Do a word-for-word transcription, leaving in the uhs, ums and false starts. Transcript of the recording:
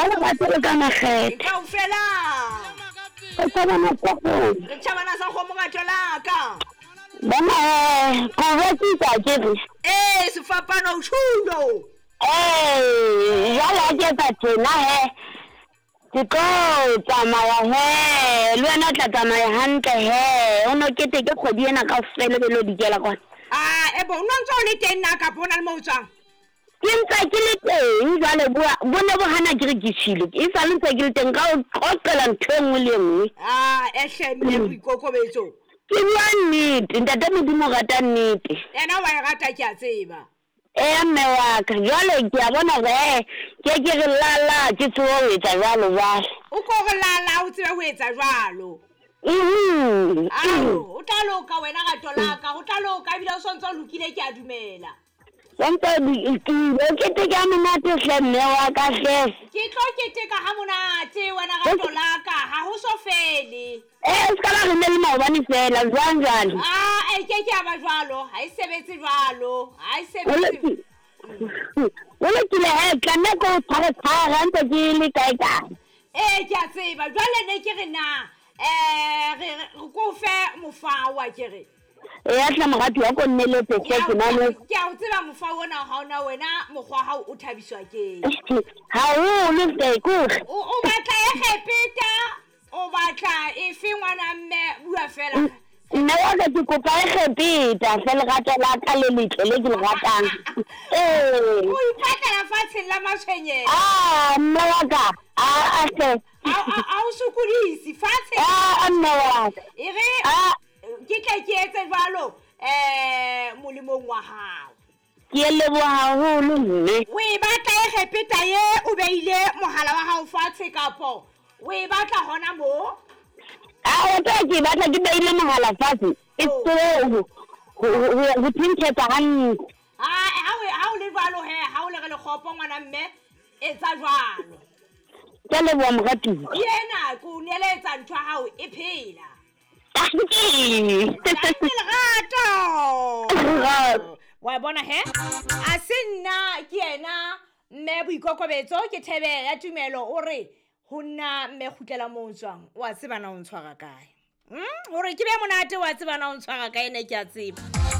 Ka lerato le ka makgethe. Kaofela. Re tjhabana sa kgomo. Re tjhabana sa kgomo rato la ka. Bona eh, ko rekisa ke re. Ee, sefapano o tjhulo. Ee, jwale ha ke etsa tjena he. Ke tlo tsamaya he, le wena o tla tsamaya hantle he. O no keteke kgwedi ena kaofela be lo dikela kwana. Ah, ebo, o no ntso o le teng na kapa o na le mo o tswang? Ke ntse ke le teng jwale bo ne bo hana ke re ke tjhile. E sale ntse ke le teng ka o qoqela ntho e nngwe le e nngwe. Ah, ehle mme boikokobetso. Ke bua nnete, ntate Modimo o rata nnete. Yena wa e rata ke a tseba. Eya mme wa ka, jwale ke a bona hore eh ke ke re lala ke tsebe ho etsa jwalo jwale. O ko re lala o tsebe ho etsa jwalo. Mhm. Ao, o tla loka wena rato la ka, o tla loka ebile o sontso o lokile ke a dumela. Sontso lokile, o keteke ha monate hle mme wa ka hle. Ke tlo keteka ha monate wena rato la ka, ha ho so fele. Eh, se ka ba re ne le maobane fela, jwang jwale? Ah, e ke ke a ba jwalo, ha e sebetse jwalo, ha e sebetse. O lokile he, tlameha ke o tshware tshware ha ntse ke le kae kae. Eh, ke a tseba, jwale ne ke re na, eh re re ko fe mofao wa ke re. E a tla morati wa ko nneletse hle ke na le. Ke a o tseba mofao ona ha ona wena mokgwa hao o thabiswa ke. Haholo hle ke hore. O o batla e kgepeta, o batla efe ngwana mme bua fela. Nna wa ka ke kopa e kgepeta hle lerato la ka le letle le ke le ratang. Ee. O ipatlela fatsheng la matshwenyeho. Ah, mme wa ka, ah hle. A o sokodise fatshe. Ah, mme wa ka. E re Ah. ke tle ke etse jwalo eh molemong wa hao. Ke leboha haholo mme. O e batla e kgepeta ye o beile mohala wa hao fatshe kapo o e batla hona mo? Ah, o tla ke batla ke beile mohala fatshe. E tseo ho ho thintshetsa hantle. Ah, ha o ha o le jwalo he, ha o le re lekgopo ngwana mme etsa jwalo. Ke leboha moratuwa. Yena ke o neletsa ntho ya hao e phela. Dankie. Dankie lerato. Lerato. Wa bona he? A se nna ke yena mme boikokobetso ke thebe ya tumelo o re ho nna mme kgutlela mo o tswang o a tseba na o ntshwara kae. Hmm? Hore ke be monate o a tseba na o ntshwara kae ne ke a tseba.